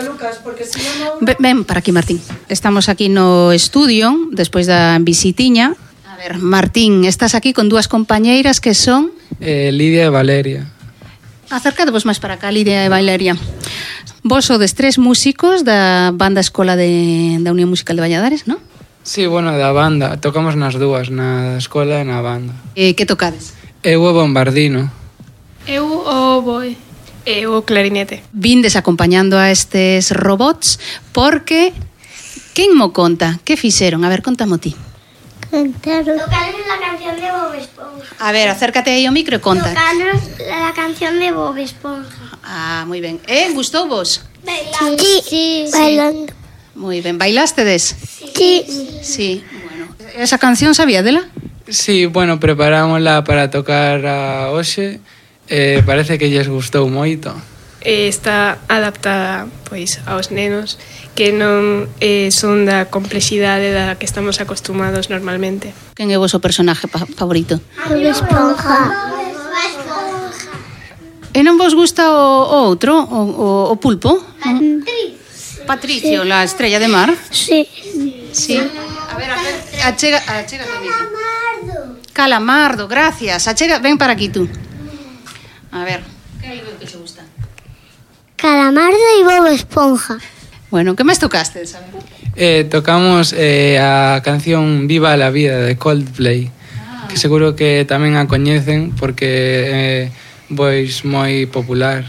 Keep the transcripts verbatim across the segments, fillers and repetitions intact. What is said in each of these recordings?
Lucas, porque si non... Ven, ven para aquí, Martín. Estamos aquí no estudio, despois da visitiña. A ver, Martín, estás aquí con dúas compañeiras que son... Eh, Lidia e Valeria. Acércadevos máis para acá, Lidia e Valeria. Vos sodes tres músicos da banda escola de, da Unión Musical de Valladares, non? Sí, bueno, da banda. Tocamos nas dúas, na escola e na banda. Eh, que tocades? Eu o bombardino. Eu o oboe. E o clarinete. Vindes acompañando a estes robots porque... Quen mo conta? Que fixeron? A ver, contamo ti. Cantaron. Tocaron la canción de Bob Esponja. A ver, acércate aí ao micro e conta. Tocaron la canción de Bob Esponja. Ah, moi ben. Eh, gustou vos? Bailando. Sí, sí, bailando. Moi ben. Bailástedes? Sí. Sí. Bueno, esa canción sabía dela? Sí, bueno, preparámosla para tocar a hoxe. Eh, parece que lles gustou moito. E está adaptada, pois, aos nenos que non eh, son da complexidade da que estamos acostumados normalmente. Quen é o vosso personaje pa- favorito? Bob Esponja. E non vos gusta o, o outro, o, o, o pulpo? Patricio. Patricio, sí. La estrella de mar. Sí. Sí. A ver, a ver, achega, achega Calamardo. Calamardo, gracias. Achega, ven para aquí tú. A ver, que hai que te gusta? Calamardo y Bob Esponja. Bueno, que máis tocastes? A ver. Eh, tocamos eh, a canción Viva la Vida de Coldplay, ah. que seguro que tamén a coñecen porque é eh, pois moi popular.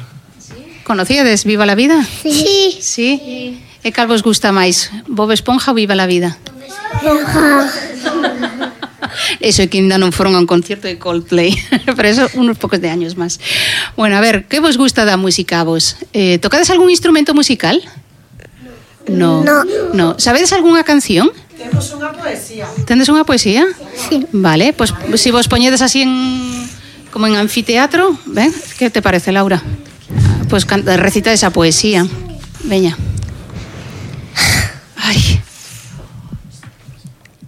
Conocíades Viva la Vida? Sí. Sí. Sí. E cal vos gusta máis? Bob Esponja ou Viva la Vida? Esponja. Eso é que ainda non foron a un concierto de Coldplay. Pero eso unos pocos de años máis. Bueno, a ver, que vos gusta da música a vos? Eh, tocades algún instrumento musical? No. No. No. Sabedes algunha canción? Temos unha poesía. Tendes unha poesía? Sí. Vale, pois pues, se si vos poñedes así en como en anfiteatro, ven, que te parece, Laura? Pois pues, recita esa poesía. Veña. Ai.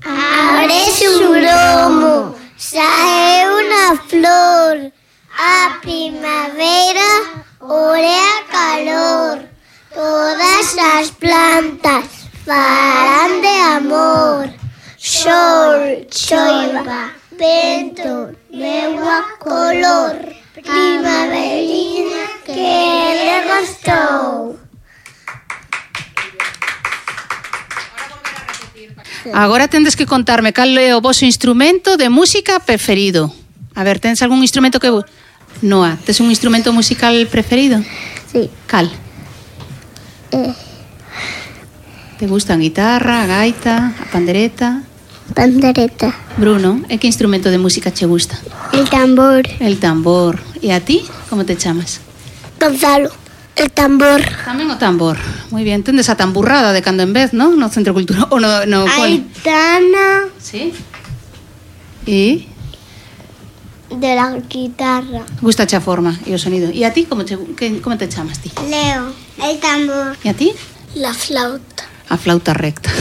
Abre un gromo, sae unha flor, a primavera orea calor, todas as plantas farán de amor, sol, choiva, vento, negua, color, primaverina que le gostou. Agora tendes que contarme cal é o voso instrumento de música preferido. A ver, tens algún instrumento que... Noa, tes un instrumento musical preferido? Sí. Cal? Eh. Te gustan guitarra, a gaita, a pandereta? Pandereta. Bruno, e que instrumento de música che gusta? El tambor. El tambor. E a ti? Como te chamas? Gonzalo. El tambor. Tamén o tambor. Moi bien, tendes a tamburrada de cando en vez, non? No Centro Cultural ou no, no Aitana. Sí. E De la guitarra. gusta a forma e o sonido. E a ti como te que, como te chamas ti? Leo. El tambor. E a ti? La flauta. A flauta recta.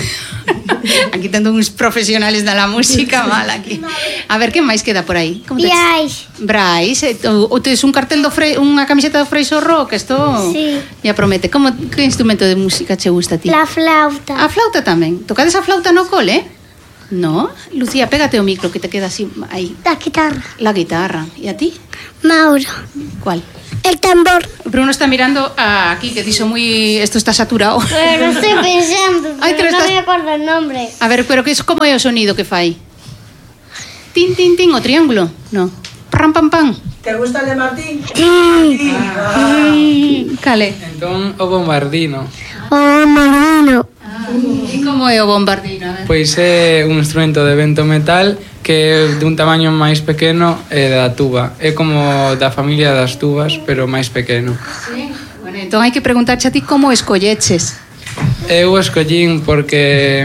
Aquí tendo uns profesionales da la música mal aquí. A ver, que máis queda por aí? Como te Brais. Brais, eh, ou ou tes un cartel do Frei, unha camiseta do Freixo Rock, isto Sí. ya promete. Como que instrumento de música che gusta a ti? La flauta. A flauta tamén. Tocades a flauta no cole? No? Lucía, pégate o micro que te queda así aí. La guitarra. La guitarra. E a ti? Mauro. ¿Cuál? El tambor. Bruno está mirando a aquí que dixo moi esto está saturado. Pero estoy pensando, Ay, pero pero no estás- me acuerdo el nombre. A ver, pero que es como é o sonido que fai? Tin tin tin o triángulo? No. Pram pam pam. Te gusta el de Martín? Cale. Entón, o bombardino. Oh, Marino. E como é o bombardino? A ver. Pois é un instrumento de vento metal que é de un tamaño máis pequeno e da tuba. É como da familia das tubas, pero máis pequeno. Sí. Bueno, entón hai que preguntarche a ti como escolleches. Eu o escollín porque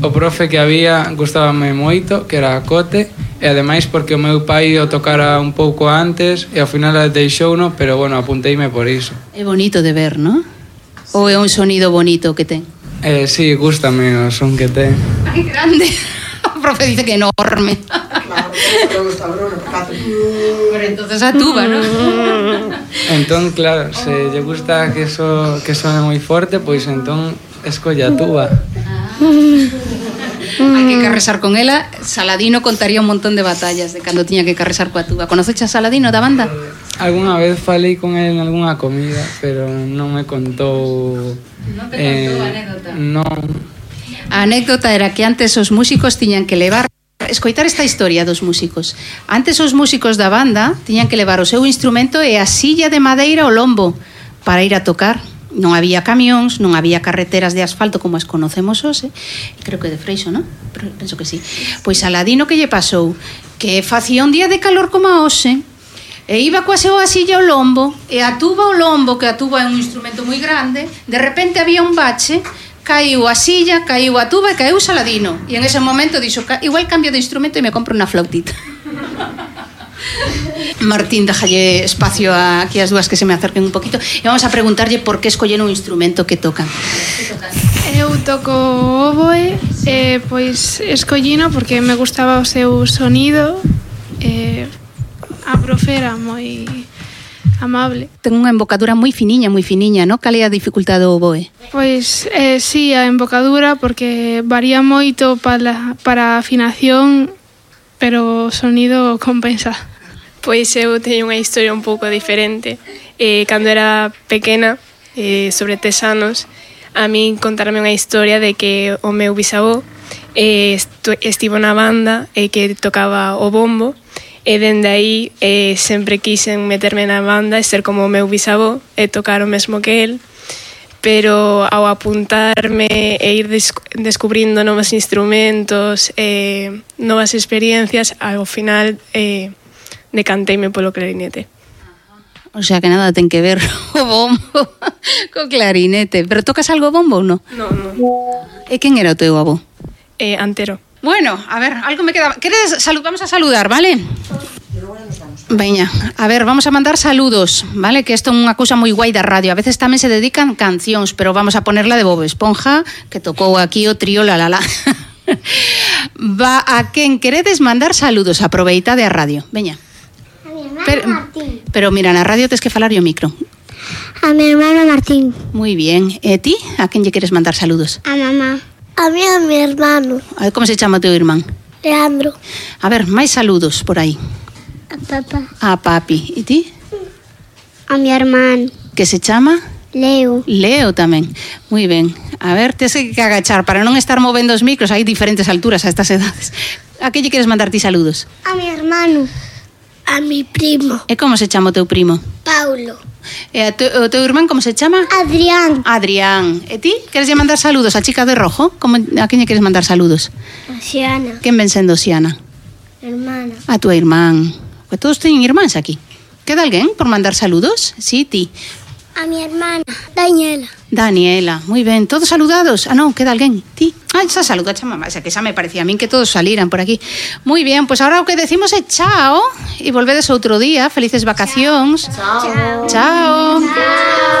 o profe que había gustábame moito, que era a Cote, e ademais porque o meu pai o tocara un pouco antes e ao final deixouno, pero bueno, apunteime por iso. É bonito de ver, non? Ou é un sonido bonito que ten? Eh, sí, gústame o son que ten. Ai, grande. profe dice que enorme. Claro, eso le gusta a Bruno, porque hace... Pero entonces a tuba, ¿no? Entón, claro, se lle gusta que eso que suene moi forte, pois entón escolla a tuba. Hai que carresar con ela. Saladino contaría un montón de batallas de cando tiña que carresar coa tuba. Conoceches a Saladino da banda? Alguna vez falei con el en algunha comida, pero non me contou... Non te contou a anécdota? Non. A anécdota era que antes os músicos tiñan que levar escoitar esta historia dos músicos. Antes os músicos da banda tiñan que levar o seu instrumento e a silla de madeira ao lombo para ir a tocar. Non había camións, non había carreteras de asfalto como as conocemos hoxe. Creo que de Freixo, non? Penso que sí. Pois Saladino que lle pasou? Que facía un día de calor como a hoxe e iba coa súa silla ao lombo e a tuba ao lombo, que a tuba é un instrumento moi grande, de repente había un bache, caiu a silla, caiu a tuba e caiu Saladino. E en ese momento dixo, igual cambio de instrumento e me compro unha flautita. Martín, déjalle espacio a, aquí as dúas que se me acerquen un poquito e vamos a preguntarlle por que escollen un instrumento que tocan. Eu toco o oboe, eh, pois escollino porque me gustaba o seu sonido, eh, a profe era moi amable. Ten unha embocadura moi finiña, moi finiña, non? Cal é a dificultade do oboe? Pois, eh, sí, a embocadura porque varía moito para, para a afinación, pero o sonido compensa. Pois eu teño unha historia un pouco diferente. Eh, cando era pequena, eh, sobre tres anos, a min contarme unha historia de que o meu bisavó eh, estivo na banda e eh, que tocaba o bombo e dende aí eh, sempre quixen meterme na banda e ser como o meu bisavó e tocar o mesmo que el, pero ao apuntarme e ir descubrindo novos instrumentos, eh, novas experiencias, ao final eh, decanteime polo clarinete. O sea que nada ten que ver o bombo co clarinete. Pero tocas algo bombo ou non? Non, non. E quen era o teu avó? Eh, Antero. Bueno, a ver, algo me queda. ¿Queres salud? Vamos a saludar, ¿vale? Veña, a ver, vamos a mandar saludos, ¿vale? Que isto é unha cousa moi guai da radio. A veces tamén se dedican cancións, pero vamos a ponerla de Bob Esponja, que tocou aquí o trío la la la. Va a quen queredes mandar saludos, aproveitade a radio. Veña. A mi hermano Pero, Martín. pero mira, na radio tes que falar o micro. A mi hermano Martín. Muy bien. E ti? A quen lle queres mandar saludos? A mamá. A mí a mi hermano. A ver, como se chama o teu irmán? Leandro. A ver, máis saludos por aí. A papá. A papi. E ti? A mi hermano. Que se chama? Leo. Leo tamén. Muy ben. A ver, tes que agachar para non estar movendo os micros. Hai diferentes alturas a estas edades. A que lle queres mandar ti saludos? A mi hermano. A mi primo. E como se chama o teu primo? Paulo. E a te, o teu irmán como se chama? Adrián. Adrián. E ti? Queres lle mandar saludos a chica de rojo? Como, a quen lle queres mandar saludos? Xiana. Quen ven sendo Xiana? Hermana. A tua irmán. Pues todos teñen irmáns aquí. Queda alguén por mandar saludos? Sí, ti. A mi hermana. Daniela. Daniela, moi ben. Todos saludados? Ah, non, queda alguén. Ti? Ah, xa saluda a mamá. O sea, que xa me parecía a min que todos saliran por aquí. Moi bien, pois pues ahora o que decimos é chao e volvedes outro día. Felices vacacións. Chao. Chao. Chao.